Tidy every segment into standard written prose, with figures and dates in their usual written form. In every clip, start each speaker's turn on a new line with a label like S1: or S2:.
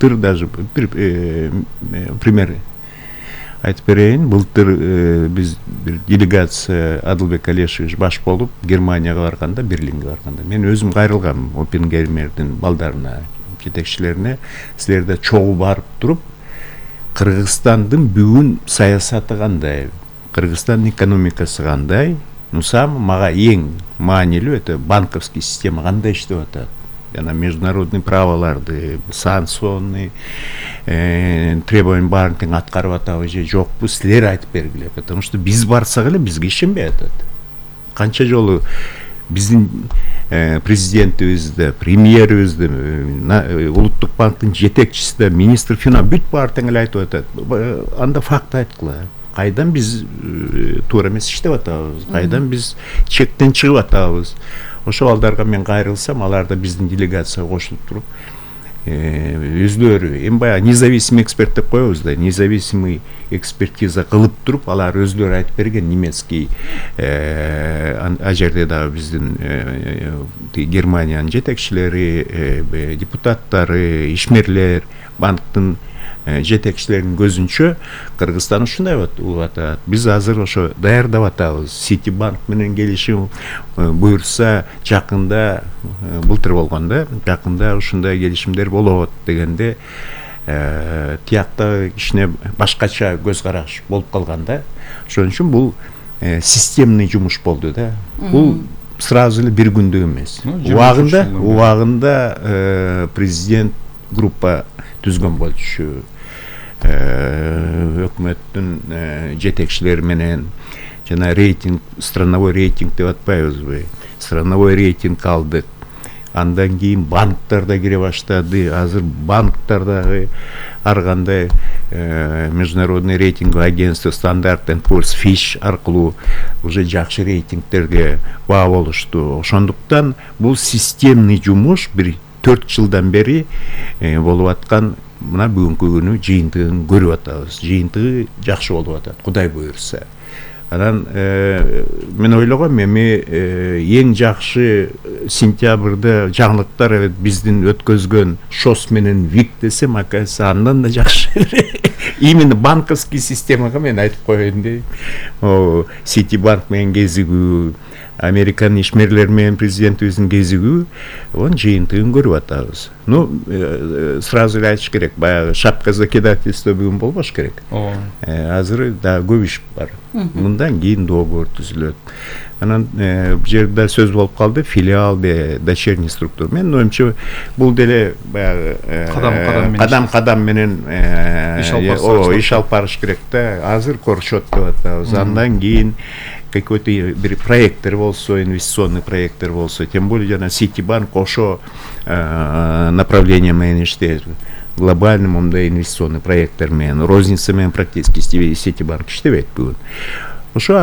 S1: Даже bir пример айтып берейин. Былтыр биз бир делегация Адылбек Алешевич баш болуп Германияга барганда, Берлинге барганда мен өзүм кайрылгам Оппенгеймердин балдарына, жетекчилерине. Силерде чогуу барып туруп, Кыргызстандын бүгүн саясаты кандай, Кыргызстандын экономикасы кандай, мага эң маанилүү өтө банковский система кандай иштеп атат. Жана международный праволарды, санкционный требования баарын тең аткарып атабы же жокпу, силер айтып бергиле. Потому что биз барсак эле бизге ишенбей атат. Канча жолу биздин президентибизде, премьерибизде, улуттук банктын жетекчиси, министр финанс бүт баары тең эле айтып атат. Анда факт айткыла. Кайдан биз туура эмес иштеп атабыз, кайдан биз чектен чыгып атабыз. Ошол балдарга мен кайрылсам, алар да биздин делегацияга кошулуп туруп, өзлөрү эми баягы независимый эксперт деп коебуз да, независимый экспертиза кылып туруп, алар өзлөрү айтып берген немецкий а жерде дагы биздин Германиянын жетекчилери, депутаттары, ишмерлер, банктын жетекчилеринин көзүнчө Кыргызстан ушундай болуп атат. Биз азыр ошо даярдап атабыз. Ситибанк менен келишим буйрса жакында, былтыр болгон да, жакында ушундай келишимдер болот дегенде, тиякта кичине башкача көз караш болуп калган да. Ошон үчүн бул системный жумуш болду да. Бул сразу эле бир күндө эмес. Убагында президент группа түзгөн болчу, өкмөттүн жетекчилери менен жана рейтинг, страновой рейтинг деп атпайбызбы, страновой рейтинг алдык. Андан кийин банктар да кире баштады. Азыр банктар дагы ар кандай международный рейтинговый агентство Standard & Poor's, Fitch аркылуу уже жакшы рейтингтерге баа болушту. Ошондуктан бул системный жумуш бир 4 жылдан бери болуп аткан. Мына бүгүнкү күнү жыйынтыгын көрүп атабыз. Жыйынтыгы жакшы болуп атат, Кудай буйрса. Анан мен ойлогом эми эң жакшы сентябрда жаңылыктар биздин өткөзгөн ШОС менен ВИК десем, акайсы андан да жакшы. Именно банковский системага мен айтып коеюн дейм. Ситибанк менен кезигүү, Американ ишмерлер менен президентибиздин кезигүү, жыйынтыгын көрүп атабыз. Сразу эле айтыш керек, баягы шапка закидательство бүгүн болбош керек. Азыр да көп иш бар. Мындан кийин договор түзүлөт. Анан бул жерде сөз болуп калды, филиал де дочерний структура. Мен оюмча бул деле баягы кадам менен иш алып барыш керек да. Азыр корчот деп атабыз. Андан кийин какой-то бир проекттер болсо, инвестиционный проекттер болсо, тем более жана Ситибанк ошо направление менен иштейт. Глобальный мындай инвестиционный проекттер менен, розница менен практически Ситибанк иштебейт бүгүн. Ошо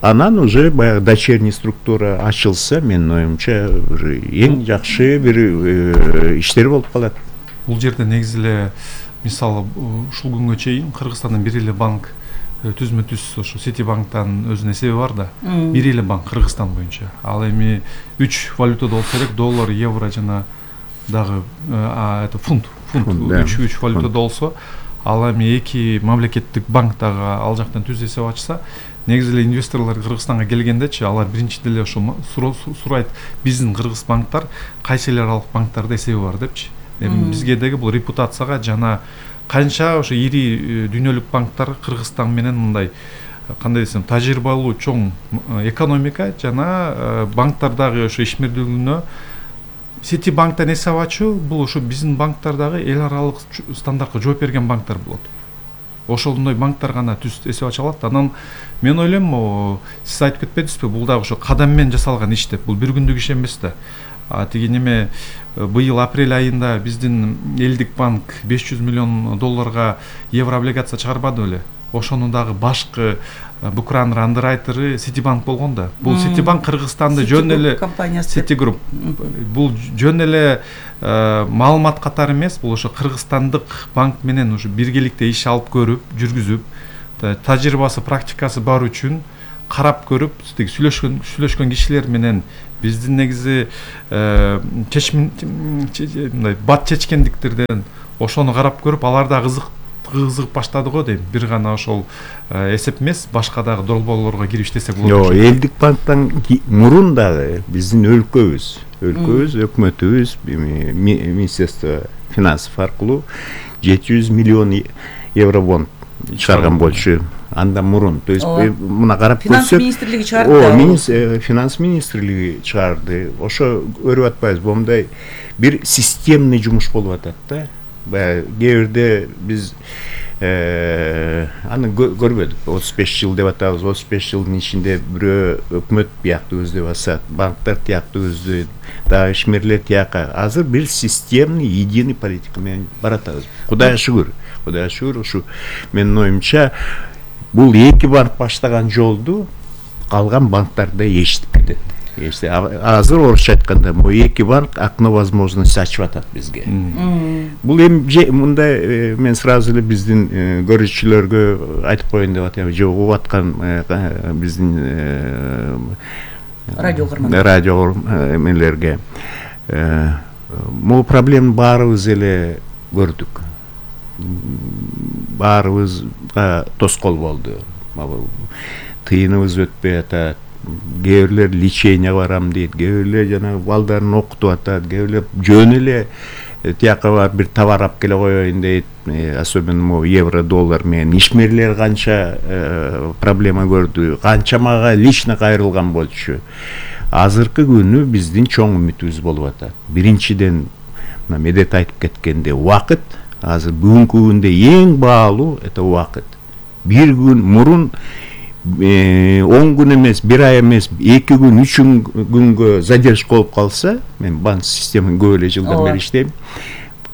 S1: анан уже баягы дочерний структура ачылса, мен оюмча эң жакшы бир иштер болуп калат.
S2: Бул жерде негизи эле мисалы ушул күнгө чейин Кыргызстандын бир эле банк түзмө-түз ошо Ситибанктан өзүнүн эсеби бар да. Бир эле банк Кыргызстан боюнча. Ал эми 3 валютада болсо керек, доллар, евро жана дагы фунт 3 валютада болсо, ал эми 2 мамлекеттик банк дагы ал жактан түз эсеп ачса, негизи эле инвесторлор Кыргызстанга келгендечи, алар биринчиден эле ошо сурайт, биздин кыргыз банктар кайсы эл аралык банктарда эсеби бар депчи. Эми бизге деги бул репутацияга жана канча ошо ири дүйнөлүк банктар Кыргызстан менен мындай кандай десем тажрыйбалуу чоң экономика жана банктардагы ошо ишмердүүлүгүнө Ситибанктан эсеп ачуу, бул ошо биздин банктардагы эл аралык стандартка жооп берген банктар болот. Ошондой банктар гана түз эсеп ача алат. Анан мен ойлойм, сиз айтып кетпедиңизби, бул дагы ошо кадам менен жасалган иш деп. Бул бир күндүк иш эмес да. Тиги неме быйыл апрель айында биздин элдик банк 500 миллион долларга евро облигация чыгарбады беле? Ошонун дагы башкы букранер андеррайтеры Ситибанк болгон да. Бул Ситибанк Кыргызстанды жөн эле Ситигруп. Бул жөн эле маалымат катары эмес, бул ошо кыргызстандык банк менен ушу биргеликте иш алып көрүп, жүргүзүп, тажрыйбасы, практикасы бар үчүн карап көрүп тиги сүйлөшкөн кишилер менен биздин негизи мындай бат чечкендиктерден ошону карап көрүп алар да кызыгып баштады го дейм. Бир гана ошол эсеп эмес, башка дагы долбоорлорго кирип иштесек болот.
S1: Жок, элдик банктан мурун дагы биздин өлкөбүз, өкмөтүбүз, Министерство финансов аркылуу 700 миллион евро бонд чыгарган болчу. Андан мурун, то есть мына карап көрсөк,
S3: финанс министрлиги чыгарды.
S1: Финанс министрлиги чыгарды. Ошо көрүп атпайбыз, момундай бир системный жумуш болуп атат да. Кээ бирде биз аны көрбөдүк. 35 жыл деп атабыз. 35 жылдын ичинде бирөө өкмөт бияктуу өздүп басат, банктар тияктуу өздү, дагы ишмерлер тияка. Азыр бир системный, единый политика менен баратабыз. Кудайга шүгүр, ушу менин оюмча бул эки банк баштаган жолду калган банктар да ээрчитип кетет. Азыр орусча айтканда, бул эки банк окно возможности ачып атат бизге. Бул эми мындай мен сразу эле биздин көрүүчүлөргө айтып коеюн деп атам, же угуп аткан биздин радио эмелерге. Бул проблеманы баарыбыз эле көрдүк. Баарыбызга тоскоол болду. Тыйыныбыз өтпөй атат. Кээ бирлер лечение барам дейт, кээ бирлер жанагы балдарын окутуп атат, кээ бирлер жөн эле тияка барып бир товар алып келе коеюн дейт. Особенно могу евро, доллар менен ишмерлер канча проблема көрдү, канча мага лично кайрылган болчу. Азыркы күнү биздин чоң үмүтүбүз болуп атат. Биринчиден, Медет айтып кеткенде, убакыт. Азыр бүгүнкү күндө эң баалуу это убакыт. Бир күн мурун 10 күн эмес, 1 ай эмес, 2 күн, 3 күнгө задержка болуп калса, мен банк системаны көп эле жылдан бери иштейм,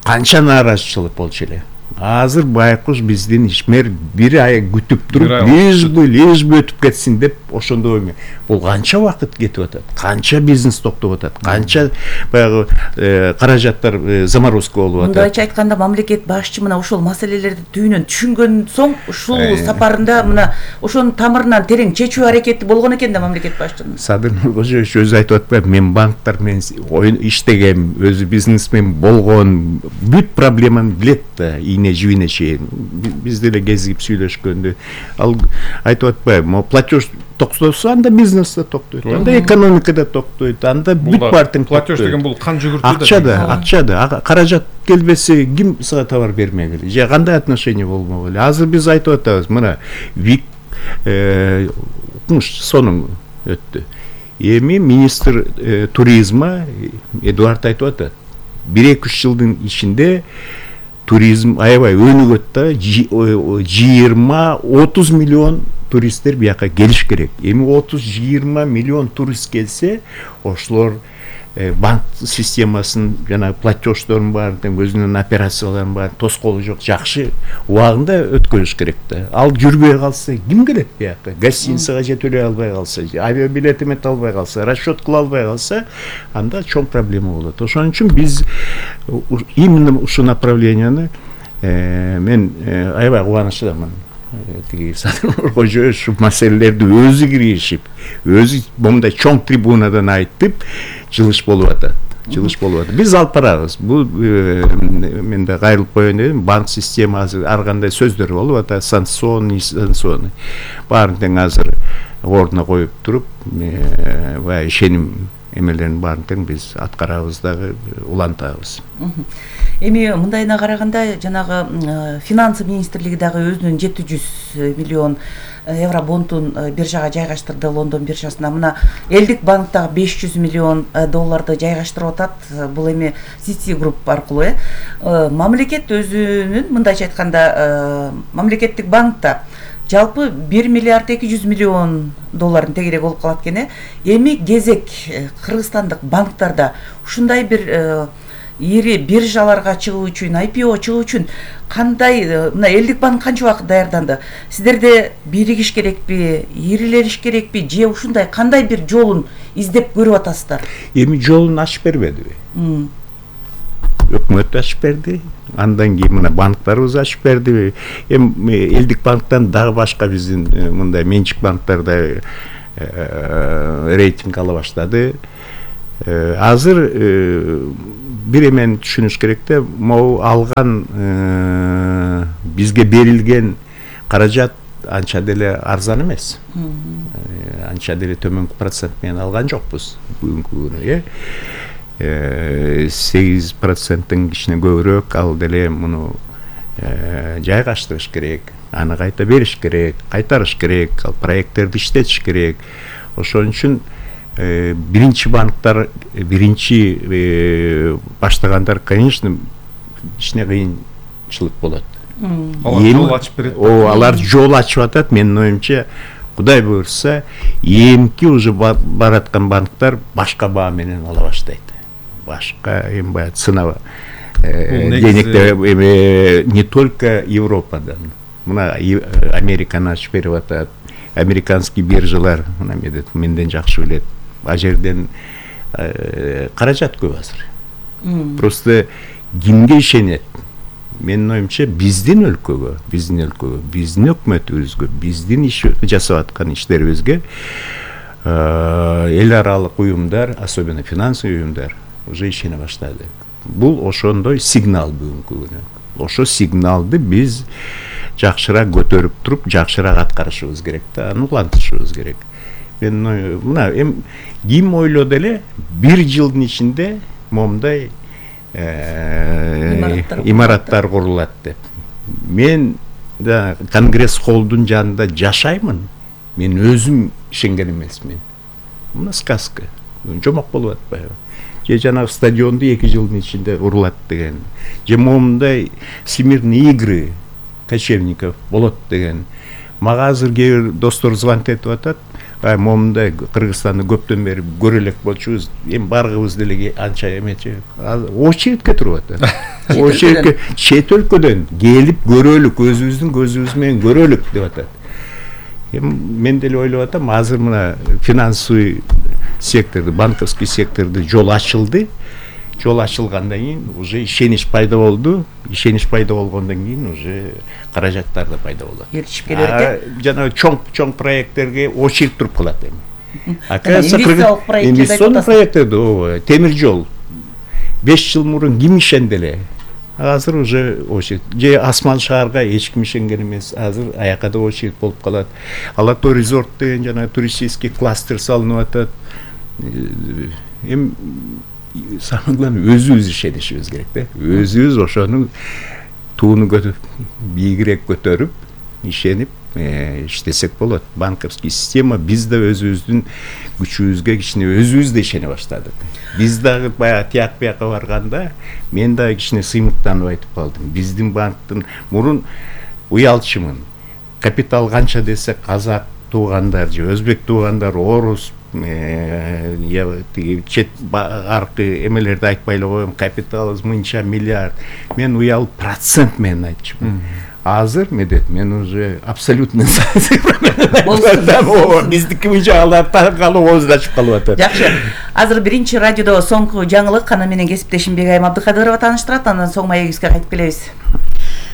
S1: канча нааразычылык болчу эле. Азыр байкуш биздин ишмер 1 ай күтүп туруп, лишь бы өтүп кетсин деп ошондой эме. Бул канча убакыт кетип атат, канча бизнес токтоп атат, канча баягы каражаттар заморозка болуп атат.
S3: Мындайча айтканда, мамлекет башчы мына ошол маселелерди түйүнөн түшүнгөн соң ушул сапарында мына ошонун тамырынан терең чечүү аракети болгон экен да мамлекет башчынын.
S1: Садыр Нуркожоевич өзү айтып атпайбы, мен банктар менен иштегем, өзү бизнесмен болгон, бүт проблеманы билет да, жибине чейин. Биз деле кезигип сүйлөшкөндө ал айтып атпайбы, могу платеж токтосо анда бизнес да токтойт, анда экономика да токтойт, анда бүт партиң
S2: платеж деген бул кан жүгүртүү да.
S1: Акчада, каражат келбесе ким сага товар бермегиле, же кандай отношение болмок эле. Азыр биз айтып атабыз, мына ВИК сонун өттү. Эми министр туризма Эдуард айтып атат, 1-2 жылдын ичинде туризм аябай өнүгөт да, 20-30 миллион туристтер бияка келиш керек. Эми 30-20 миллион турист келсе, ошолор банк системасын, жана платеждорун бар, өзүнүн операцияларын бар, тоскоолу жок, жакшы убагында өткөрүш керек да. Ал жүрбөй калса, ким келет бияка? Гостиницага же төлөй албай калса, авиабилет эмете албай калса, расчет кыла албай калса, анда чоң проблема болот. Ошон үчүн биз именно ушул направленияны мен аябай кубанычтамын. Садыр Нуркожоевич ушу маселелерди өзү киришип, өзү момундай чоң трибунадан айтып, жылыш болуп атат. Биз алып барабыз. Бул мен да кайрылып коеюн дедим. Банк система азыр ар кандай сөздөр болуп атат, санкционный. Баарын тең азыр ордуна коюп туруп, баягы ишеним эмелерин баарын тең биз аткарабыз дагы, улантабыз.
S3: Эми мындайына караганда, жанагы финансы министрлиги дагы өзүнүн 700 миллион евро бондун биржага жайгаштырды, Лондон биржасына. Мына элдик банк дагы 500 миллион долларды жайгаштырып атат. Бул эми City Group аркылуу. Мамлекет өзүнүн, мындайча айтканда, мамлекеттик банкта жалпы 1 миллиард 200 миллион долларын тегерек болуп калат экен. Эми кезек кыргызстандык банктарда ушундай бир ири биржаларга чыгуу үчүн, IPO чыгуу үчүн кандай, мына элдик банк канча убакыт даярданды? Сиздерде биригиш керекпи, ирилериш керекпи, же ушундай кандай бир жолун издеп көрүп атасыздар?
S1: Эми жолун ачып бербедиби? өкмөт ачып берди. Андан кийин мына банктарыбыз ачып берди. Эми элдик банктан дагы башка биздин мындай менчик банктар да рейтинг ала баштады. Азыр бир эмени түшүнүш керек да, могу алган бизге берилген каражат анча деле арзан эмес. Анча деле төмөнкү процент менен алган жокпуз бүгүнкү күнү. 8%-тын кичине көбүрөөк, ал деле муну жайгаштырыш керек, аны кайта бериш керек, кайтарыш керек, ал проекттерди иштетиш керек. Ошон үчүн биринчи банктар, биринчи баштагандар, конечно, кичине кыйынчылык болот.
S2: Алар жол ачып берет.
S1: Алар жол ачып атат. Менин оюмча, Кудай буйрса, эмки уже бараткан банктар башка баа менен ала баштайт. Башка эми баягы цена денег не только Европадан. Мына Американы ачып берип атат. Американский биржалар мына менден жакшы билет. А жерден каражат көп азыр. Просто кимге ишенет? Менин оюмча, биздин өлкөгө, биздин өкмөтүбүзгө, биздин иш жасап аткан иштерибизге эл аралык уюмдар, особенно финансовый уюмдар уже ишене баштады. Бул ошондой сигнал бүгүнкү күнү. Ошо сигналды биз жакшыраак көтөрүп туруп, жакшыраак аткарышыбыз керек да, аны улантышыбыз керек. Мен мына ким ойлоду эле, 1 жылдын ичинде момундай имараттар курулат деп. Мен да Конгресс холлдун жанында жашаймын. Мен өзүм ишенген эмесмин. Мына сказка. Жомок болуп атпайбы? Же жанагы стадионду 2 жылдын ичинде курулат деген. Же момундай всемирные игры кочевников болот деген. Мага азыр кээ бир достор звонок этип атат. Момундай Кыргызстанды көптөн бери көрө элек болчубуз. Эми баргыбыз деле анча эмечи. Очередке туруп атат. Очередке чет өлкөдөн келип көрөлүк, өзүбүздүн көзүбүз менен көрөлүк деп атат. Мен деле ойлоп атам, азыр мына финансовый секторду, банковский секторду жол ачылды. Жол ачылгандан кийин уже ишенич пайда болду. Ишенич пайда болгондон кийин уже каражаттар да пайда болот.
S3: Эришип келет.
S1: Жана чоң проекттерге очередь туруп калат эми.
S3: Инвестициялык
S1: проекттерди, темир жол 5 жыл мурун ким ишенди эле? Азыр уже очередь. Же Асман шаарга эч ким ишенген эмес. Азыр аяка да очередь болуп калат. Алато резорт деген жана туристический кластер салынып атат. Эми самое главное, өзүбүз ишенишибиз керек да. Өзүбүз ошону тууну бийигирээк көтөрүп, ишенип иштесек болот. Банковский система биз да өзүбүздүн күчүбүзгө кичине өзүбүз да ишене баштадык. Биз дагы баягы тияк бияка барганда мен дагы кичине сыймыктанып айтып калдым. Биздин банктын мурун уялчымын. Капитал канча десе казак туугандар же өзбек туугандар, орус, чет аркы эмелерди айтпай эле коем, капиталыбыз мынча миллиард. Мен уялып процент менен айтчумун. Азыр мен уже абсолютно биздики мыйжагалар калып оозун калып атат.
S3: Жакшы. Азыр биринчи радиодо соңку жаңылык аны менен кесиптешим Бегайым Абдыкадырова тааныштырат, андан соң маегибизге кайтып келебиз.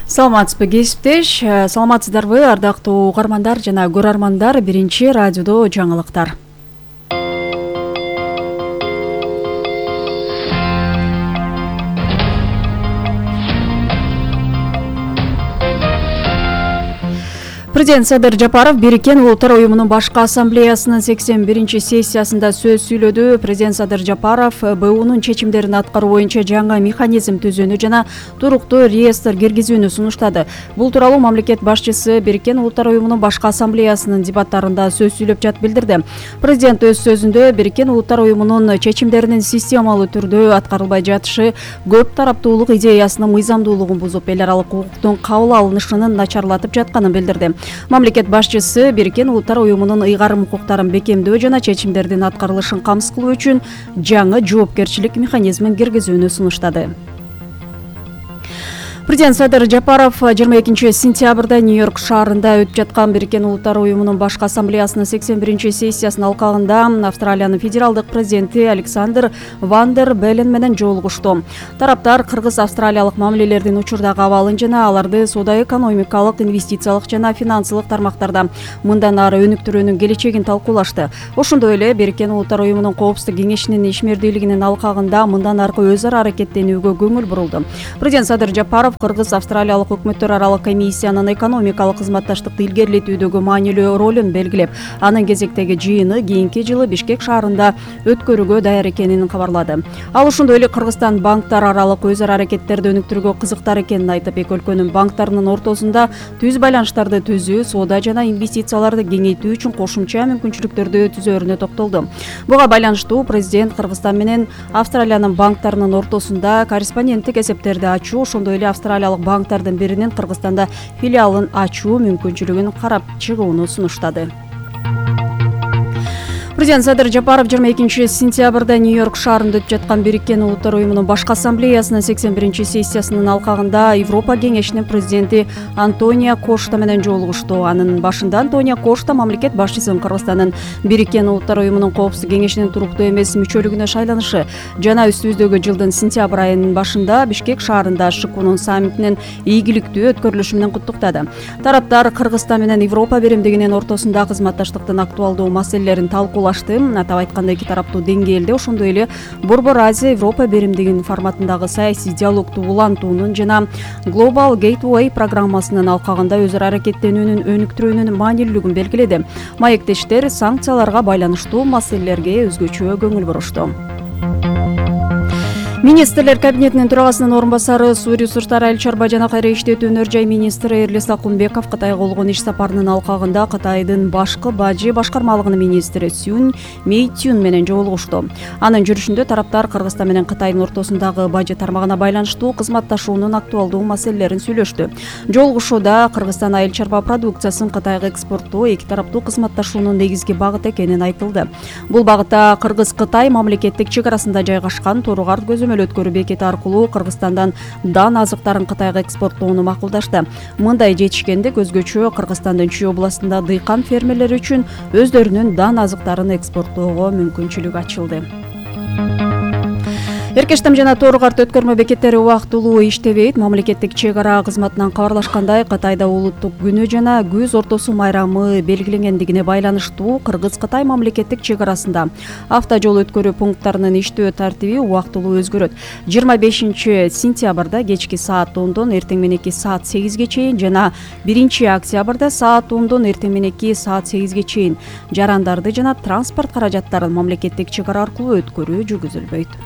S4: Саламатсызбы кесиптеш, саламатсыздарбы ардактуу угармандар жана көрөрмандар, биринчи радиодо жаңылыктар. Президент Садыр Жапаров Бириккен Улуттар уюмунун башкы ассамблеясынын 81-сессиясында сөз сүйлөдү. Президент Садыр Жапаров БУнун чечимдерин аткаруу боюнча жаңы механизм түзүүнү жана туруктуу реестр киргизүүнү сунуштады. Бул тууралуу мамлекет башчысы Бириккен Улуттар уюмунун башкы ассамблеясынын дебаттарында сөз сүйлөп жатып билдирди. Президент өз сөзүндө Бириккен Улуттар уюмунун чечимдеринин системалуу түрдө аткарылбай жатышы көп тараптуулук идеясынын мыйзамдуулугун бузуп, эл аралык укуктун кабыл алынышынын начарлатып жатканын билдирди. Мамлекет башчысы Бириккен Улуттар уюмунун ыйгарым укуктарын бекемдөө жана чечимдердин аткарылышын камсыз кылуу үчүн жаңы жоопкерчилик механизмин киргизүүнү сунуштады. Президент Садыр Жапаров 22 сентябрда Нью-Йорк шаарында өтүп жаткан Бириккен Улуттар уюмунун башкы ассамблеясынын 81 сессиясынын алкагында Австралиянын федералдык президенти Александр Ван дер Беллен менен жолугушту. Тараптар кыргыз-австралиялык мамилелердин учурдагы абалын жана аларды соода-экономикалык, инвестициялык жана финансылык тармактарда мындан ары өнүктүрүүнүн келечегин талкуулашты. Ошондой эле Бириккен Улуттар уюмунун Коопсуздук кеңешинин ишмердүүлүгүнүн алкагында мындан аркы өз ара аракеттенүүгө көңүл бурулду. Президент Садыр Жапаров кыргыз-австралиялык өкмөттөр аралык комиссиянын экономикалык кызматташтыкты илгерилетүүдөгү маанилүү ролун белгилеп, анын кезектеги жыйыны кийинки жылы Бишкек шаарында өткөрүүгө даяр экенин кабарлады. Ал ошондой эле Кыргызстан банктар аралык өз ара аракеттерди өнүктүрүүгө кызыктар экенин айтып, эки өлкөнүн банктарынын ортосунда түз байланыштарды түзүү, соода жана инвестицияларды кеңейтүү үчүн кошумча мүмкүнчүлүктөрдү түзөөрүнө токтолду. Буга байланыштуу президент Кыргызстан менен Австралиянын банктарынын ортосунда корреспонденттик эсептерди ачуу, ошондой эле австралиялык банктардын биринин Кыргызстанда филиалын ачуу мүмкүнчүлүгүн карап чыгууну сунуштады. Президент Садыр Жапаров 22 сентябрда Нью-Йорк шаарында өтүп жаткан Бириккен Улуттар уюмунун башкы ассамблеясынын 81 сессиясынын алкагында Европа кеңешинин президенти Антонио Кошта менен жолугушту. Анын башында Антонио Кошта мамлекет башчысын Кыргызстандын Бириккен Улуттар уюмунун Коопсуздук кеңешинин туруктуу эмес мүчөлүгүнө шайланышы жана үстүбүздөгү жылдын сентябрь айынын башында Бишкек шаарында ШКУнун саммитинин ийгиликтүү өткөрүлүшү менен куттуктады. Тараптар Кыргызстан менен Европа биримдигинин ортосунда кызматташтыктын актуалдуу маселелерин талкуулашты. Атап айтканда эки тараптуу деңгээлде, ошондой эле Борбор Азия Европа биримдигинин форматындагы саясий диалогду улантуунун жана Global Gateway программасынын алкагында өз ара аракеттенүүнүн өнүктүрүүнүн маанилүүлүгүн белгиледи. Маектештер санкцияларга байланыштуу маселелерге өзгөчө көңүл бурушту. Министрлер кабинетинин төрагасынын орун басары Суу ресурстары, айыл чарба жана кайра иштетүү өнөр жай министри Эрлис Акунбеков Кытайга болгон иш сапарынын алкагында Кытайдын башкы бажы башкармалыгынын министри Сюн Мэйтюн менен жолугушту. Анын жүрүшүндө тараптар Кыргызстан менен Кытайдын ортосундагы бажы тармагына байланыштуу кызматташуунун актуалдуу маселелерин сүйлөштү. Жолугушууда Кыргызстан айыл чарба продукциясын Кытайга экспорттоо эки тараптуу кызматташуунун негизги багыты экенин айтылды. Бул багытта Кыргыз-Кытай мамлекеттик чек арасында жайгашкан Торугар өткөрүү бекети аркылуу Кыргызстандан дан азыктарын Кытайга экспорттоону макулдашты. Мындай жетишкендик өзгөчө Кыргызстандын Чүй областында дыйкан фермерлери үчүн өздөрүнүн дан азыктарын экспорттоого мүмкүнчүлүк ачылды. Эркештам жана Торугарт өткөрмө бекеттери убактылуу иштебейт. Мамлекеттик чек ара кызматынан кабарлашкандай, Кытайда улуттук күнү жана күз ортосу майрамы белгиленгендигине байланыштуу Кыргыз-Кытай мамлекеттик чек арасында автожол өткөрүү пункттарынын иштөө тартиби убактылуу өзгөрөт. 25 сентябрда кечки саат 10дон эртең мененки саат 8ге чейин жана 1 октябрда саат 10дон эртең мененки саат 8ге чейин жарандарды жана транспорт каражаттарын мамлекеттик чек ара аркылуу өткөрүү жүргүзүлбөйт.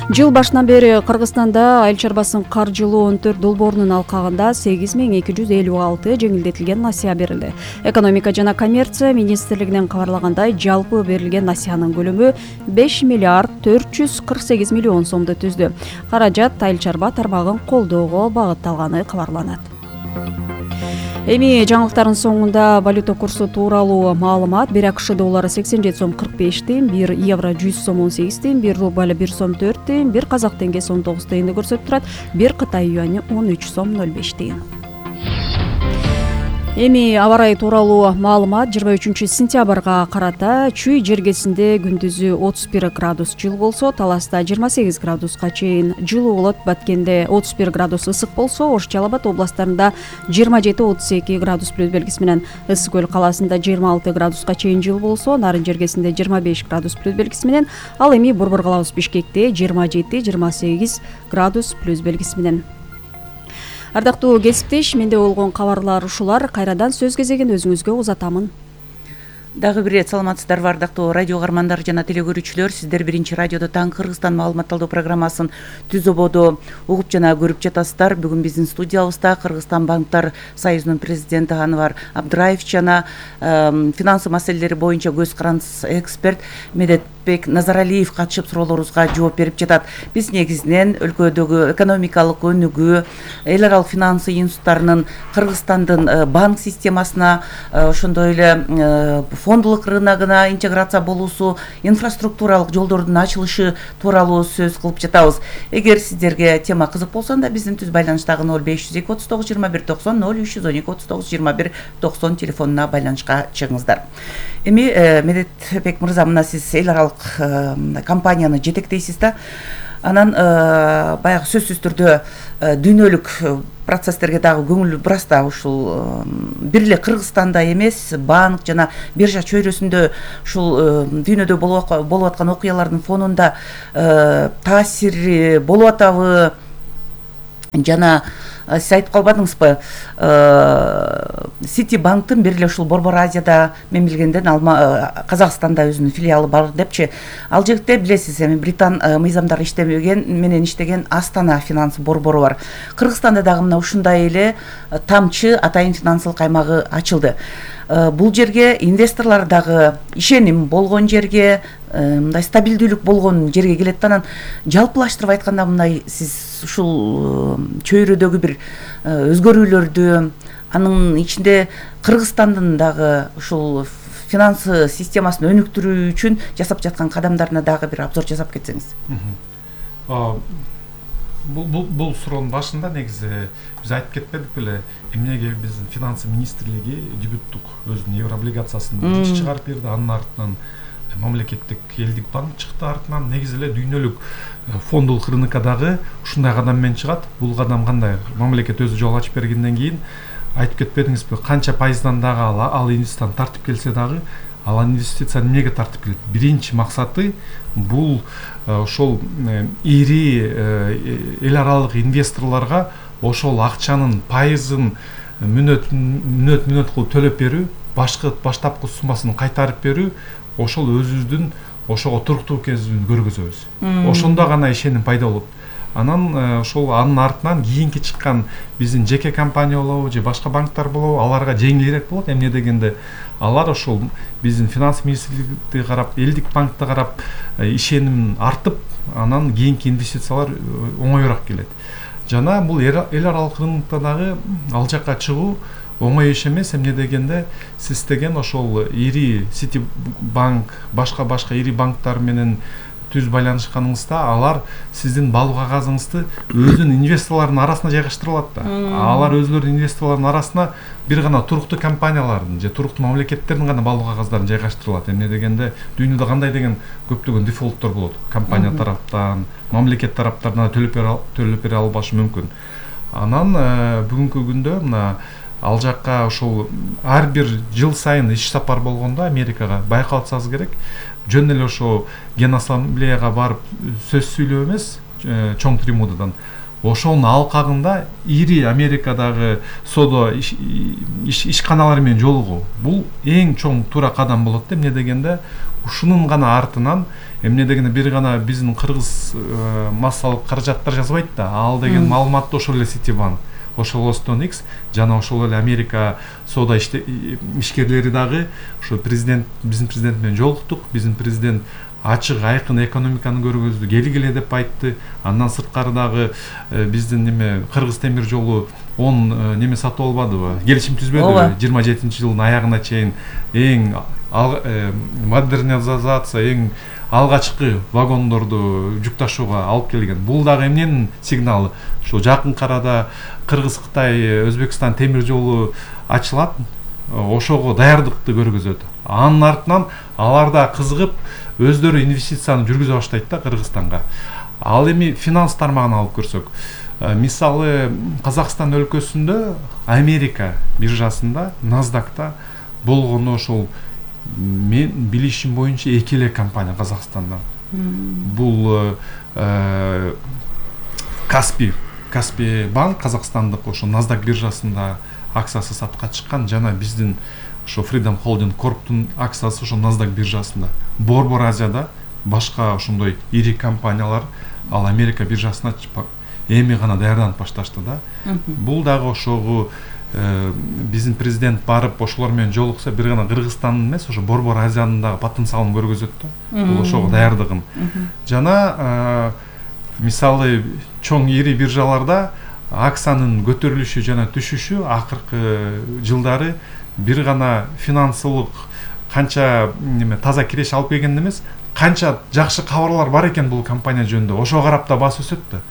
S4: Жыл башынан бери Кыргызстанда айыл чарбасын каржылоо 14 долбоорунун алкагында 8256 жеңилдетилген насыя берилди. Экономика жана коммерция министрлигинен кабарлагандай, жалпы берилген насыянын көлөмү 5 миллиард 448 миллион сомду түздү. Каражат айыл чарба тармагын колдоого багытталганы кабарланат. Эми жаңылыктардын соңунда валюта курсу тууралуу маалымат. 1 АКШ доллары 87 сом 45 тыйын, 1 евро 100 сом 18 тыйын, 1 рубль 1 сом 4 тыйын, 1 казак теңгеси 19 тыйынды көрсөтүп турат, 1 Кытай юани 13 сом 05 тыйын. Эми аба ырайы тууралуу маалымат. 23 сентябрга карата Чүй жергесинде күндүзү 31 градус жылы болсо, Таласта 28 градуска чейин жылуу болот. Баткенде 31 градус ысык болсо, Ош, Жалал Абад областарында 27-32 градус плюс белгиси менен, Ысык Көл калаасында 26 градуска чейин жылуу болсо, Нарын жергесинде 25 градус плюс белгиси менен, ал эми Борбор калабыз Бишкекте 27-28 градус плюс белгиси менен. Ардактуу кесиптеш, менде болгон кабарлар ушулар. Кайрадан сөз кезегин өзүңүзгө узатамын.
S3: Дагы бир рет саламатсыздарбы ардактуу радио каармандар жана телекөрүүчүлөр. Сиздер биринчи радиодо таң Кыргызстан маалыматталдоо программасын түз ободо угуп жана көрүп жатасыздар. Бүгүн биздин студиябызда Кыргызстан банктар союзунун президенти Анвар Абдыраев жана финансы маселелери боюнча көз карандысыз эксперт Медет Болотбек Назаралиев катышып суроолорубузга жооп берип жатат. Биз негизинен өлкөдөгү экономикалык өнүгүү, эл аралык финансы институттарынын Кыргызстандын банк системасына, ошондой эле фондулук рыногуна интеграция болуусу, инфраструктуралык жолдордун ачылышы тууралуу сөз кылып жатабыз. Эгер сиздерге тема кызык болсо анда биздин түз байланыштагы 0502 39 21 90 0312 39 21 90 телефонуна байланышка чыгыңыздар. Эми Медетбек мырза, мына сиз эл аралык компанияны жетектейсиз да. Анан баягы сөзсүз түрдө дүйнөлүк процесстерге дагы көңүл бурас да. Ушул бир эле Кыргызстанда эмес, банк жана биржа чөйрөсүндө ушул дүйнөдө болуп аткан окуялардын фонунда таасири болуп атабы? Жана сиз айтып калбадыңызбы, Сити банктын бир эле ушул Борбор Азияда, мен билгенден Казакстанда өзүнүн филиалы бар депчи. Ал жерде билесиз, эми британ мыйзамдары менен иштеген Астана финанс борбору бар. Кыргызстанда дагы мына ушундай эле тамчы атайын финансылык аймагы ачылды. Бул жерге инвесторлор дагы ишеним болгон жерге, мындай стабилдүүлүк болгон жерге келет да. Анан жалпылаштырып айтканда, мындай сиз ушул чөйрөдөгү бир өзгөрүүлөрдү, анын ичинде Кыргызстандын дагы ушул финансы системасын өнүктүрүү үчүн жасап жаткан кадамдарына дагы бир обзор жасап кетсеңиз.
S2: Бул суроонун башында негизи биз айтып кетпедик беле, эмнеге биздин финансы министрлиги дебюттук өзүнүн еврооблигациясын чыгарып берди, анын артынан мамлекеттик элдик банк чыкты, артынан негизи эле дүйнөлүк фондулук рынокко дагы ушундай кадам менен чыгат. Бул кадам кандай? Мамлекет өзү жол ачып бергенден кийин айтып кетпедиңизби, канча пайыздан дагы ал инвестицияны тартып келсе дагы, ал инвестицияны эмнеге тартып келет? Биринчи максаты бул ошол ири эл аралык инвесторлорго ошол акчанын пайызын мүнөт кылып төлөп берүү, баштапкы суммасын кайтарып берүү, ошол өзүбүздүн ошого туруктуу экенибизди көргөзөбүз. Ошондо гана ишеним пайда болот. Анан ошол анын артынан кийинки чыккан биздин жеке компания болобу же башка банктар болобу, аларга жеңилирээк болот. Эмне дегенде алар ошол биздин финанс министрликти карап, элдик банкты карап ишеним артып, анан кийинки инвестициялар оңоюраак келет. Жана бул эл аралык рынокто дагы ал жакка чыгуу оңой иш эмес. Эмне дегенде сиз деген ошол ири Сити банк, башка ири банктар менен түз байланышканыңызда, алар сиздин балуу кагазыңызды өзүнүн инвесторлорунун арасына жайгаштырып алат да. Алар өзлөрүнүн инвесторлорунун арасына бир гана туруктуу компаниялардын же туруктуу мамлекеттердин гана балуу кагаздарын жайгаштырып алат. Эмне дегенде дүйнөдө кандай деген көптөгөн дефолттор болот. Компания тараптан, мамлекет тараптарына төлөп бере албашы мүмкүн. Анан бүгүнкү күндө мына ал жакка ошол ар бир жыл сайын иш сапар болгондо Америкага байкалсаңыз керек, жөн эле ошо Генассамблеяга барып сөз сүйлөө эмес, чоң трибунадан. Ошонун алкагында ири Америкадагы содо ишканалары менен жолугуу. Бул эң чоң туура кадам болот. Эмне дегенде ушунун гана артынан, эмне дегенде бир гана биздин кыргыз массалык каражаттар жазбайт да. Ал деген маалыматты ошол эле Ситибанк, ошол Stonex жана ошол эле Америка соода ишкерлери дагы ошо биздин президент менен жолуктук. Биздин президент ачык айкын экономиканы көргөздү, келгиле деп айтты. Андан сырткары дагы биздин Кыргыз темир жолу 10 неме сатып албадыбы, келишим түзбөдүбү? 27-жылдын аягына чейин эң модернизация, эң алгачкы вагондорду жүк ташууга алып келген. Бул дагы эмненин сигналы? Ошо жакын арада Кыргыз, Кытай, Өзбекстан темир жолу ачылат, ошого даярдыкты көргөзөт. Анын артынан алар да кызыгып өздөрү инвестицияны жүргүзө баштайт да Кыргызстанга. Ал эми финанс тармагын алып көрсөк, мисалы Казакстан өлкөсүндө Америка биржасында, Насдакта болгону ошол мен билишим боюнча 2 эле компания Казакстандан. Бул Каспий банк казакстандык ошо Насдак биржасында акциясы сатка чыккан, жана биздин ошо Freedom Holding Corp'тун акциясы ошо Насдак биржасында. Борбор Азияда башка ошондой ири компаниялар ал Америка биржасына эми гана даярданып башташты да. Бул дагы ошого биздин президент барып ошолор менен жолукса бир гана Кыргызстандын эмес, ошо Борбор Азиянын дагы потенциалын көргөзөт да. Бул ошого даярдыгын. Жана мисалы чоң ири биржаларда акциянын көтөрүлүшү жана түшүшү акыркы жылдары бир гана финансылык канча таза киреш алып келген эмес, канча жакшы кабарлар бар экен бул компания жөнүндө, ошого карап да баасы өсөт да.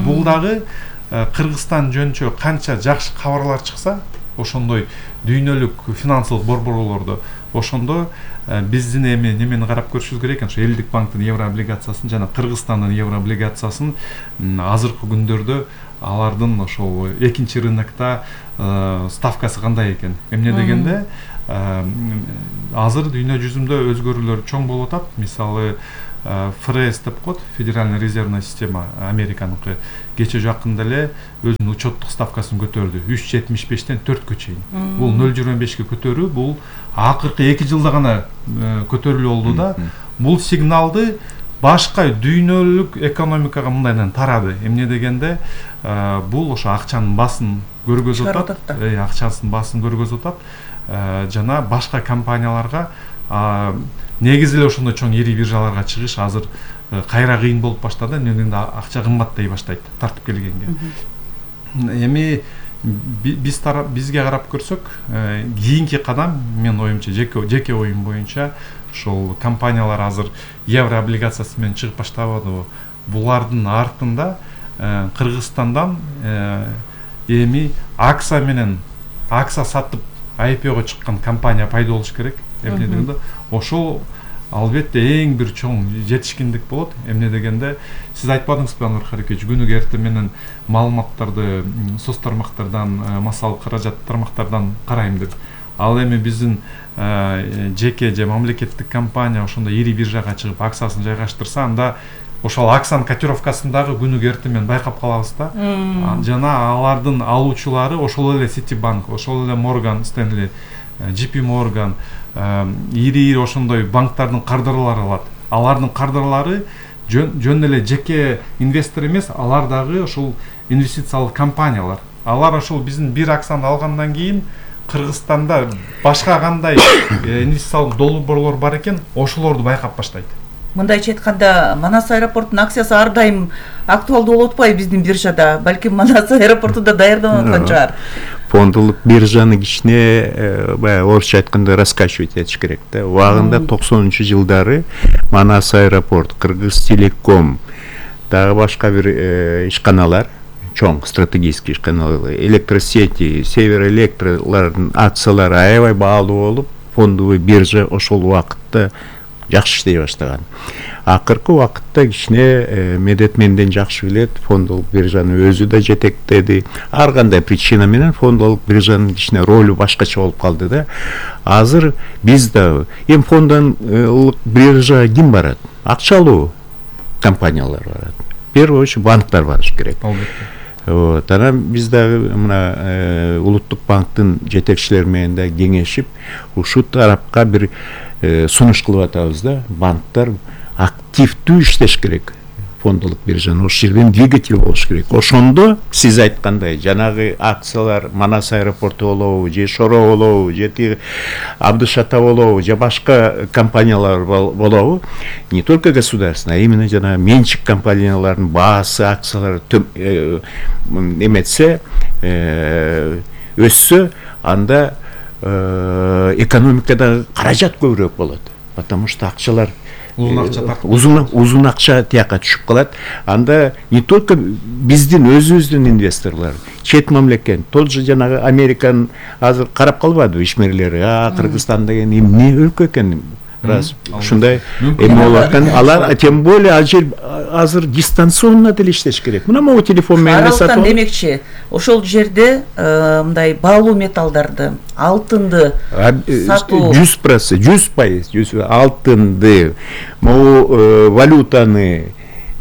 S2: Бул дагы Кыргызстан жөнүнчө канча жакшы кабарлар чыкса, ошондой дүйнөлүк финансылык борборлордо ошондо биздин немени карап көрүшүбүз керек экен. Ошо Элдик банктын евро облигациясын жана Кыргызстандын евро облигациясын азыркы күндөрдө алардын ошол экинчи рынокто ставкасы кандай экен. Эмне дегенде азыр дүйнө жүзүндө өзгөрүүлөр чоң болуп атат. Мисалы ФРС деп коет, Федеральная резервная система Американыкы кече жакында эле өзүнүн учеттук ставкасын көтөрдү. 3.75-тен 4-кө чейин. Бул 0.25-ке көтөрүү, бул акыркы 2 жылда гана көтөрүлүү болду да. Бул сигналды башка дүйнөлүк экономикага мындайдан тарады. Эмне дегенде бул ошо акчанын басын көргөзүп атат. Акчасын басын көргөзүп атат. Жана башка компанияларга негизи эле ошондой чоң ири биржаларга чыгыш азыр кайра кыйын болуп баштады. Эмнеден акча кымбаттай баштайт тартып келгенге. Эми бизге карап көрсөк, кийинки кадам, мен оюмча, жеке оюм боюнча, ошол компаниялар азыр евро облигациясы менен чыгып баштабадыбы. Булардын артында Кыргызстандан эми акция сатып IPO-го чыккан компания пайда болуш керек. Эмне дегенде ошол албетте эң бир чоң жетишкиндик болот. Эмне дегенде сиз айтпадыңызбы, Анвар Харекевич, күнүгө эртең менен маалыматтарды соц тармактардан, массалык каражат тармактардан карайм деп. Ал эми биздин жеке же мамлекеттик компания ошондой ири биржага чыгып акциясын жайгаштырса, анда ошол акциянын котировкасындагы күнүгө эртең менен байкап калабыз да. Жана алардын алуучулары ошол эле Citibank, ошол эле Morgan Stanley, JP Morgan, ири ошондой банктардын кардарлары алат. Алардын кардарлары жөн эле жеке инвестор эмес, алар дагы ошол инвестициялык компаниялар. Алар ошол биздин бир акцияны алгандан кийин Кыргызстанда башка кандай инвестициялык долбоорлор бар экен, ошолорду байкап баштайт.
S3: Мындайча айтканда, Манас аэропортунун акциясы ар дайым актуалдуу болуп атпайбы биздин биржада? Балким Манас аэропорту да даярданып аткан чыгар.
S1: Фондулук биржаны кичине баягы орусча айтканда раскачивать этиш керек да. Убагында 90-жылдары Манас аэропорт, Кыргызтелеком, дагы башка бир ишканалар, чоң стратегический ишканалар, электросети, Северэлектрлардын акциялары аябай баалуу болуп, фондовый биржа ошол убакытта жакшы иштей баштаган. Акыркы убакытта кичине Медет менден жакшы билет, фондолук биржаны өзү да жетектеди. Ар кандай причина менен фондолук биржанын кичине ролу башкача болуп калды да. Азыр биз да фондолук биржа ким барат? Акчалуу компаниялар барат. Первый очередь банктар барыш керек. Вот, анан биз дагы мына Улуттук банктын жетекчилери менен да кеңешип, ушул тарапка бир сунуш кылып атабыз да. Банктар активдүү иштеш керек. Фондолук биржаны ошол жерден двигатель болуш керек. Ошондо сиз айткандай жанагы акциялар Манас аэропорту болобу, же Шоро болобу, же Абдышата болобу, же башка компаниялар болобу, не только государственный, а именно жана менчик компаниялардын баасы, акциялары эметсе, өссө, анда экономикада каражат көбүрөөк болот. Потому что акчалар узун акча тияка түшүп калат. Анда не только биздин өзүбүздүн инвесторлор, чет мамлекет, тот же жанагы Американын азыр карап калбадыбы ишмерлери, Кыргызстан деген эмне өлкө экен. Раз ушундай эме болуп аткан, алар тем более азыр дистанционно деле иштеш керек. Мына могу телефон менен сатып.
S3: Демекчи, ошол жерде мындай баалуу металлдарды, алтынды сатуу 100%, алтынды, могу валютаны,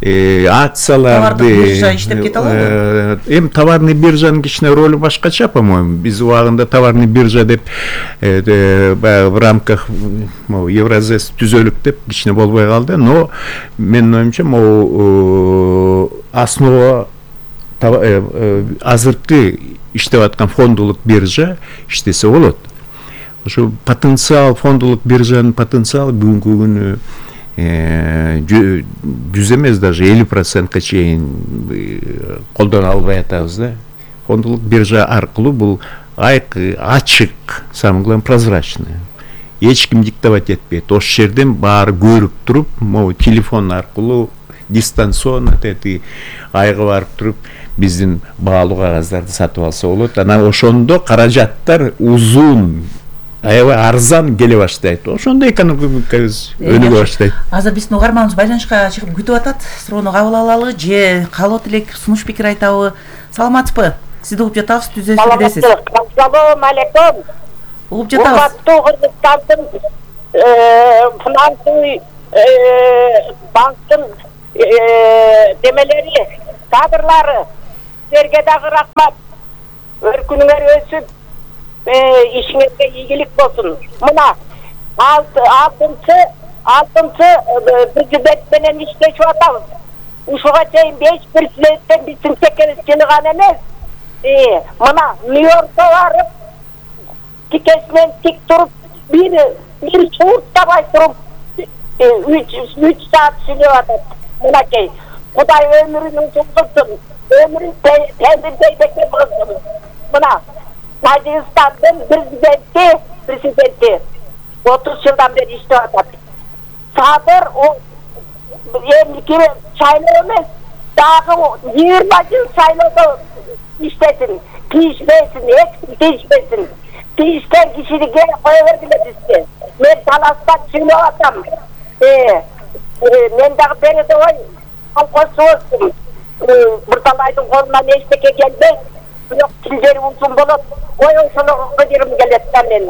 S3: акцияларды, биржа иштеп кете алабы?
S1: Товарный биржанын кичине ролу башкача, по-моему. Биз убагында товарный биржа деп в рамках Евразес түзөлүк деп кичине болбой калды, но менин оюмча могу основа азыркы иштеп аткан фондулук биржа иштесе болот. Ошо потенциал, фондулук биржанын потенциалы бүгүнкү күнү 100 эмес, даже 50%ка чейин колдоно албай атабыз да. Фондулук биржа аркылуу бул ачык, самое главное прозрачный. Эч ким диктовать этпейт. Ошол жерден баары көрүп туруп, могу телефон аркылуу дистанционно айга барып туруп биздин баалуу кагаздарды сатып алса болот. Анан ошондо каражаттар узун, аябай арзан келе баштайт. Ошондо экономикабыз өнүгө баштайт.
S3: Азыр биздин угарманыбыз байланышка чыгып күтүп атат. Суроону кабыл алалы же калып элек сунуш пикир айтабы? Саламатсызбы? Сизди угуп жатабыз, түз эфирдесиз.
S5: Ассалому алейкум.
S3: Угуп жатабыз.
S5: Кыргызстандын финансовый банктын демелери, кадрлары, силерге дагы рахмат. Өркүнүңөр өсүп, ишиңерге ийгилик болсун. Мына алтынчы президент менен иштешип атабыз. Ушуга чейин 5 президенттен биздин чекебиз жыйган эмес. Мына Нью-Йоркко барып, тикесинен тик туруп, бир суурттабай туруп 3 саат сүйлөп атат. Мынакей, Кудай өмүрүн узунтурсун, өмүрүн темирдей кылсын. Мына Тажикстандын президенти 30 жылдан бери иштеп атат. Садыр эмники шайлоо эмес, дагы 20 жыл шайлоодо иштесин, тийишпесин, эч тийишпесин. Тийишкен кишиге кое бергиле бизге. Мен таластан сүйлөп атам. Мен дагы передовой колхозчу болсун. Бурталайдын колунан эчтеке келбейт. Бирок тилдери узун болот. Ой ошолого жирим келет да мен.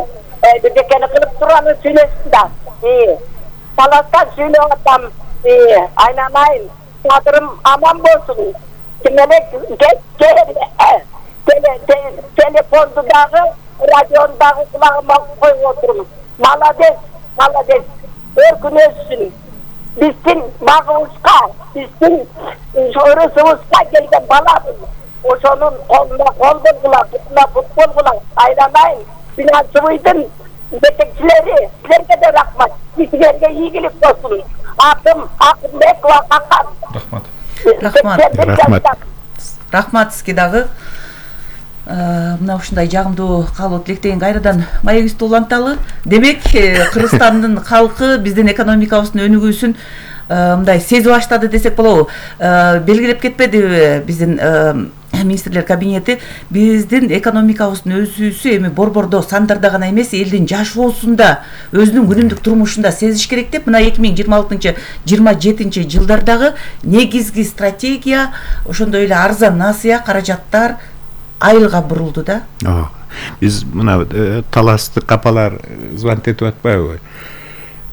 S5: Бирдекени кылып турганы сүйлөсүн да. Таластан сүйлөп атам. Айнанайын, кадырым аман болсун. Демек телефонду дагы, радиону дагы кулагыма коюп отурмун. Молодец. Өркүн өссүн. Биздин багыбызга, биздин өрүсүбүзгө келген балабыз. Ошонун колуна кол болгула, бутуна бут болгула. Айнанайын, финансовыйдын жетекчилери, силерге да рахмат. Силерге ийгилик болсун. Атым Акымбекова Акан.
S3: Рахмат сизге дагы. Мына ушундай жагымдуу каалоо тилектен кайрадан маегибизди уланталы. Демек, Кыргызстандын калкы биздин экономикабыздын өнүгүүсүн мындай сезип баштады десек болобу? Белгилеп кетпедиби биздин министрлер кабинети биздин экономикабыздын өсүүсү эми борбордо сандарда гана эмес, элдин жашоосунда, өзүнүн күнүмдүк турмушунда сезиш керек деп, мына 2026-27 жылдардагы негизги стратегия ошондой эле арзан насыя, каражаттар айылга бурулду да.
S1: Биз мына таласты капалар звонок этип атпайбы?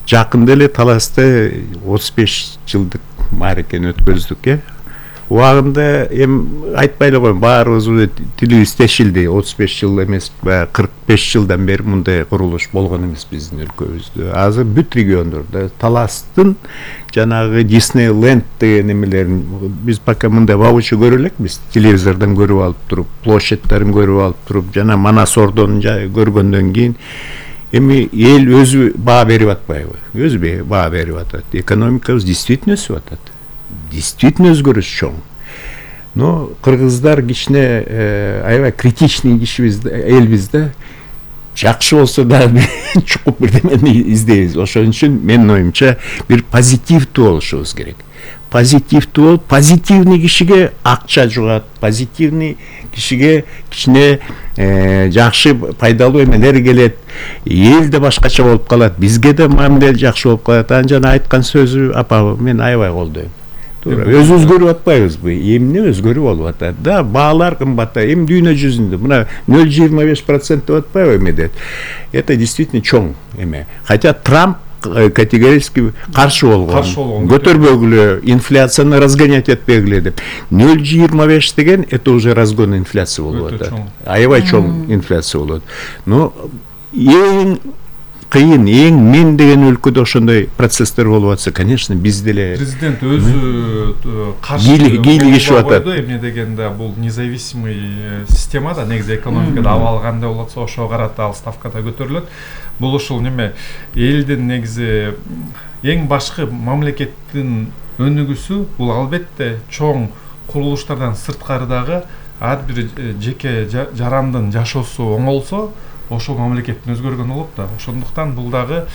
S1: Жакында эле Таласта 35 жылдык мааракени өткөздүк, Убагында айтпай эле коеюн, баарыбыз тилибиз тешилди. 35 жыл эмес, 45 жылдан бери мындай курулуш болгон эмес биздин өлкөбүздө. Азыр бүт региондордо Таластын жанагы Диснейленд деген эмелерин биз пока мындай воочию көрө элекпиз, телевизордон көрүп алып туруп, площадьтарын көрүп алып туруп, жана Манас ордонун көргөндөн кийин эми эл өзү баа берип атпайбы? Өзү баа берип атат. Экономикабыз действительно өсүп атат. Действительно өзгөрүш чоң. Но кыргыздар кичине аябай критичный кишибиз, элбиз да. Жакшы болсо да чукуп бирдемени издейбиз. Ошон үчүн менин оюмча бир позитивдүү болушубуз керек. Позитивдүү болуп, позитивный кишиге акча жугат, позитивный кишиге кичине жакшы пайдалуу эмелер келет. Эл да башкача болуп калат, бизге да мамиле жакшы болуп калат. Анан жана айткан сөзү апа мен аябай колдойм. Өзү өзгөрүп атпайбызбы? Эмне өзгөрүп болуп атат да? Баалар кымбаттайт. Эми дүйнө жүзүндө мына 0,25% деп атпайбы эмедет? Это действительно чоң эме. Хотя Трамп категорически каршы болгон. Көтөрбөгүлө, инфляцияны разгонять этпегиле деп. 0,25 деген это уже разгон инфляции болуп атат. Аябай чоң инфляция болот. Но эң кыйын, эң мен деген өлкөдө ошондой процесстер болуп атса, конечно, биз деле
S2: президент өзү каршы
S1: кийлигишип атат.
S2: Эмне дегенде бул независимый система да, негизи экономикада абал кандай болот болсо ошого карата ал ставкада көтөрүлөт. Бул ушул неме элдин негизи эң башкы мамлекеттин өнүгүүсү бул албетте чоң курулуштардан сырткарыдагы ар бир жеке жарандын жашоосу оңолсо ошол мамлекеттин өзгөргөнү болот да. Ошондуктан бул дагы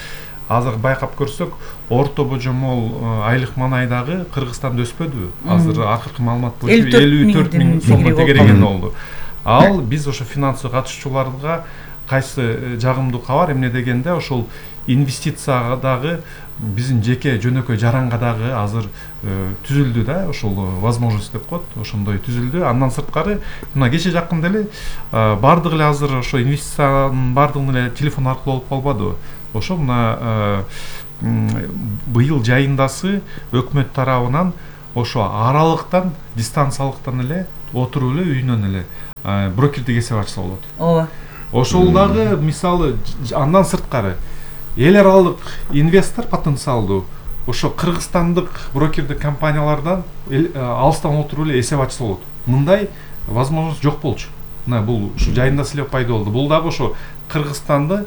S2: азыр байкап көрсөк, орто божомол айлык маанайдагы Кыргызстанда өспөдүбү? Азыр акыркы маалымат боюнча 54 миң сомго тегереген болду. Ал биз ошо финансылык катышуучуларга кайсы жагымдуу кабар эмне дегенде, ошол инвестицияга биздин жеке жөнөкөй жаранга дагы азыр түзүлдү да, ошол возможность деп коет, ошондой түзүлдү. Андан сырткары мына кече жакында эле бардыгы эле азыр ошо инвестициянын бардыгын эле телефон аркылуу болуп калбадыбы? Ошо мына быйыл жайындасы өкмөт тарабынан ошо аралыктан, дистанциялыктан эле отуруп эле үйүнөн эле брокердик эсеп ачса болот.
S3: Ооба.
S2: Ошол дагы мисалы андан сырткары эл аралык инвестор потенциалдуу ошо кыргызстандык брокердик компаниялардан алыстан отуруп эле эсеп ачса болот. Мындай возможность жок болчу. Мына бул ушу жайында эле пайда болду. Бул дагы ошо Кыргызстанды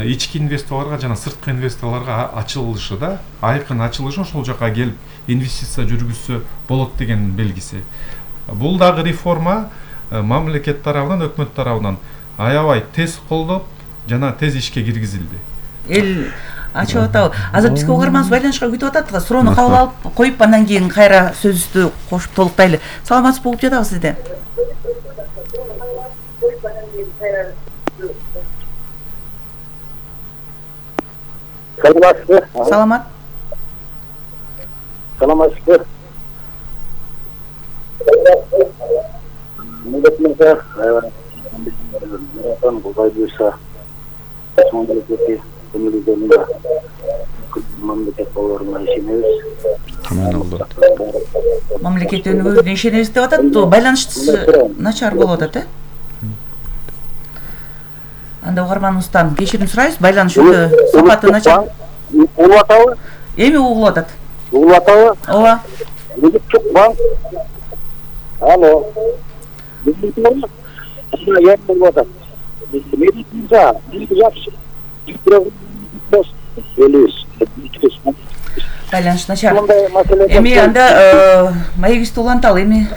S2: ички инвесторлорго жана сырткы инвесторлорго ачылышы да, айкын ачылышы, ошол жака келип инвестиция жүргүзсө болот деген белгиси. Бул дагы реформа мамлекет тарабынан, өкмөт тарабынан аябай тез колдоп жана тез ишке киргизилди.
S3: Эл ачып атабы? Азыр бизге угарманыбыз байланышка күтүп атат. Суроону кабыл алып коюп, андан кийин кайра сөзүбүздү кошуп толуктайлы. Саламатсыз болуп жатабы сизде?
S5: Саламатсызбы?
S3: Саламат.
S5: Саламатсызбы? Мындатмаса, Кубай буюрса, мамлекет болоруна ишенебиз.
S3: Мамлекет өнүгүүсүнө ишенебиз деп атат. Байланыш начар болуп атат, Анда угарманыбыздан кечирим сурайбыз. Байланыш өтө сапаты начар.
S5: Угулуп атабы?
S3: Эми угулуп атат.
S5: Угулуп атабы?
S3: Ооба.
S5: Улуттук банк. Алло. Я болуп атат.
S3: Байланыш начар. Эми анда маегибизди уланталы. Эми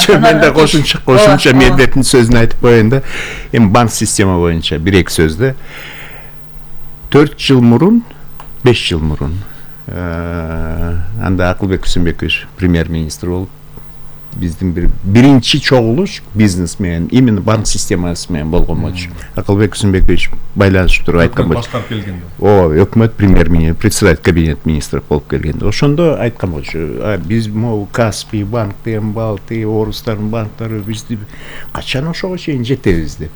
S1: мен да кошумча медеттин сөзүн айтып коеюн да. Эми банк система боюнча бир-эки сөздө 4 жыл мурун, 5 жыл мурун анда Акылбек Күсүмбекович премьер-министр болуп, биздин биринчи чогулуш бизнес менен, именно банк системасы менен болгон болчу. Акылбек Күсүмбекович байланышып туруп айткан болчу.
S2: Баштап келгенде.
S1: Өкмөт премьер-министр, председатель кабинет министров болуп келгенде. Ошондо айткан болчу. Биз могу Каспий банк, Балтый, орустардын банктары бизди качан ошого чейин жетебиз деп.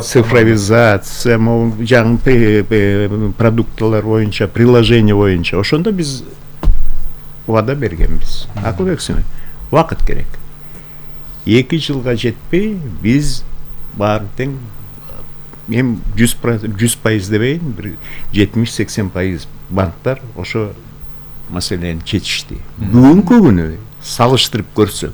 S1: Цифровизация, могу жаңы продукталар боюнча, приложение боюнча. Ошондо биз вада бергенбиз. Акылбек Күсүмбеков, убакыт керек. 2 жылга жетпей биз баарын тең эми 100% дебейин, бир 70-80% банктар ошо маселени чечишти. Бүгүнкү күнү салыштырып көрсөк,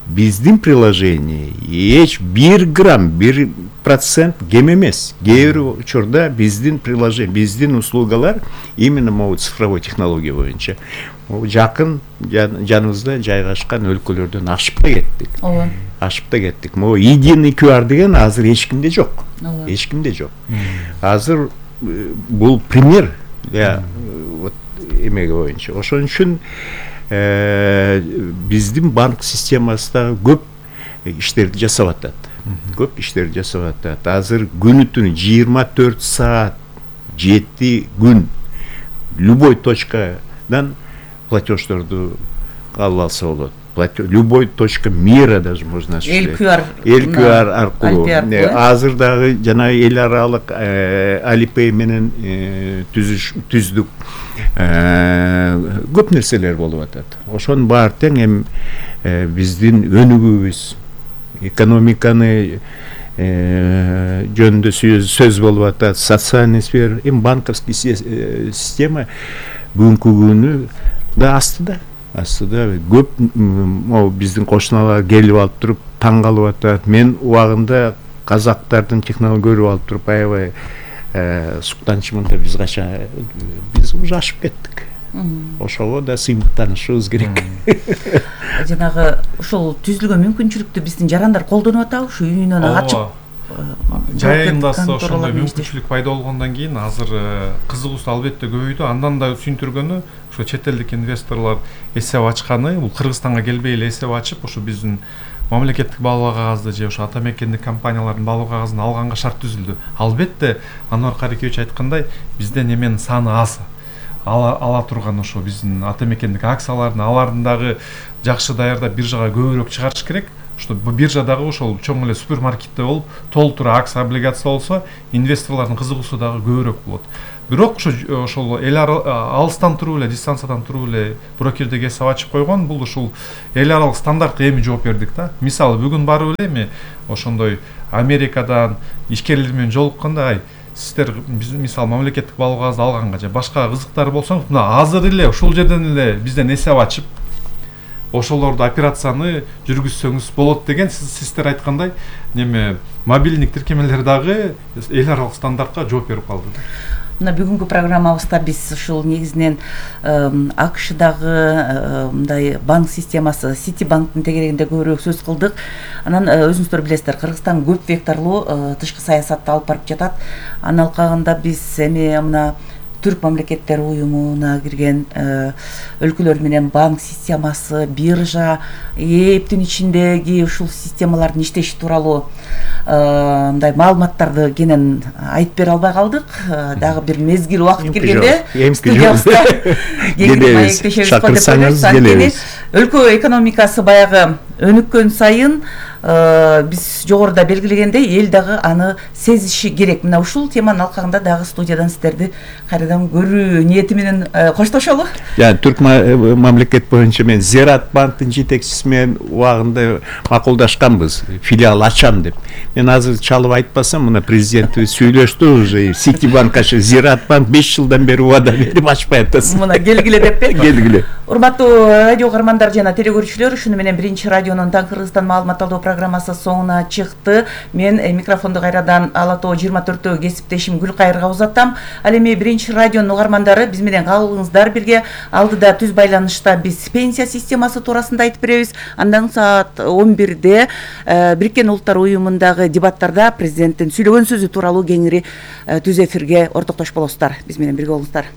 S1: биздин приложение эч 1 грамм, 1% кем эмес. Кээ бир учурда биздин приложение, биздин услугалар именно могу цифровой технология боюнча жакын жаныбызда жайгашкан өлкөлөрдөн ашып да кеттик.
S3: Ооба.
S1: Ашып да кеттик. Могу единый QR деген азыр эч кимде жок. Эч кимде жок. Азыр бул пример вот эмеге боюнча. Ошон үчүн биздин банк системасында көп иштерди жасап атат. Көп иштерди жасап атат. Азыр күнү түнү 24 саат 7 күн любой точкадан платеждорду алып алса болот. Любой точка мира даже можно осуществлять. QR аркылуу. Азыр дагы жана эл аралык Alipay менен түздүк көп нерселер болуп атат. Ошонун баары тең эми биздин өнүгүүбүз, экономиканы жөнүндө сөз болуп атат, социальный сфера, эми банковский система бүгүнкү күнү да астыда көп могу биздин кошуналар келип алып туруп таң калып атат. Мен убагында казактардын технология көрүп алып туруп аябай суктанчымын биз уже ашып кеттик. Ошого да сыймыктанышыбыз керек.
S3: Жанагы ушул түзүлгөн мүмкүнчүлүктү биздин жарандар колдонуп атабы? Ушу үйүнөн ачып
S2: жайында ошондой мүмкүнчүлүк пайда болгондон кийин азыр кызыгуусу албетте көбөйдү. Андан да сүйүндүргөнү ошо чет элдик инвесторлор эсеп ачканы, бул Кыргызстанга келбей эле эсеп ачып, ошо биздин мамлекеттик баалуу кагазды же ошо ата мекендик компаниялардын баалуу кагазын алганга шарт түзүлдү. Албетте Анвар Карикевич айткандай, бизде эменин саны аз. Ала турган ошо биздин ата мекендик акциялардын, алардын дагы жакшы даярдап биржага көбүрөөк чыгарыш керек. Что биржадагы ошол чоң эле супермаркетте болуп, толтура акция, облигация болсо, инвесторлордун кызыгуусу дагы көбүрөөк болот. Бирок ошол эл алыстан туруп эле, дистанциядан туруп эле брокердик эсеп ачып койгон, бул ушул эл аралык стандартка эми жооп бердик да. Мисалы бүгүн барып эле эми ошондой Америкадан ишкерлер менен жолукканда, сиздер мисалы мамлекеттик баалуу кагазды алганга же башка кызыктар болсоңуз, мына азыр эле ушул жерден эле бизден эсеп ачып ошолорду операцияны жүргүзсөңүз болот деген сиздер айткандай неме мобилдик тиркемелер дагы эл аралык стандартка жооп берип калды.
S3: Мына бүгүнкү программабызда биз ушул негизинен АКШдагы мындай банк системасы Ситибанктын тегерегинде көбүрөөк сөз кылдык. Анан өзүңүздөр билесиздер, Кыргызстан көп векторлуу тышкы саясатты алып барып жатат. Анын алкагында биз эми мына Түрк мамлекеттер уюмуна кирген өлкөлөр менен банк системасы, биржа, эптин ичиндеги ушул системалардын иштеши тууралуу мындай маалыматтарды кенен айтып бере албай калдык. Дагы бир мезгил убакыт келгенде студиябызда
S1: шакырсаңыз келебиз.
S3: Өлкө экономикасы баягы өнүккөн сайын биз жогоруда белгилегендей эл дагы аны сезиши керек. Мына ушул теманын алкагында дагы студиядан сиздерди кайрадан көрүү ниети менен коштошолу.
S1: Түрк мамлекет боюнча мен Зират банктын жетекчиси менен убагында макулдашканбыз, филиал ачам деп. Мен азыр чалып айтпасам, мына президентибиз сүйлөштү уже, Ситибанк ашы, Зират банк 5 жылдан бери убада берип ачпай атасың.
S3: Мына келгиле деп бе?
S1: Келгиле.
S3: Урматтуу радио каармандар жана телекөрүүчүлөр, ушуну менен биринчи радионун Таң Кыргызстан маалымат алуу программасы соңуна чыкты. Мен микрофонду кайрадан Ала Тоо 24-тө кесиптешим Гүлкайырга узаттам. Ал эми биринчи радионун угармандары биз менен калыңыздар бирге. Алдыда түз байланышта биз пенсия системасы туурасында айтып беребиз. Андан саат 11-де Бириккен Улуттар уюмундагы дебаттарда президенттин сүйлөгөн сөзү тууралуу кеңири түз эфирге ортоктош болосуздар. Биз менен бирге болуңуздар.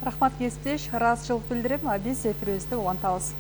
S4: Рахмат кесиптеш, ыраазычылык билдирем, биз эфирибизди улантабыз.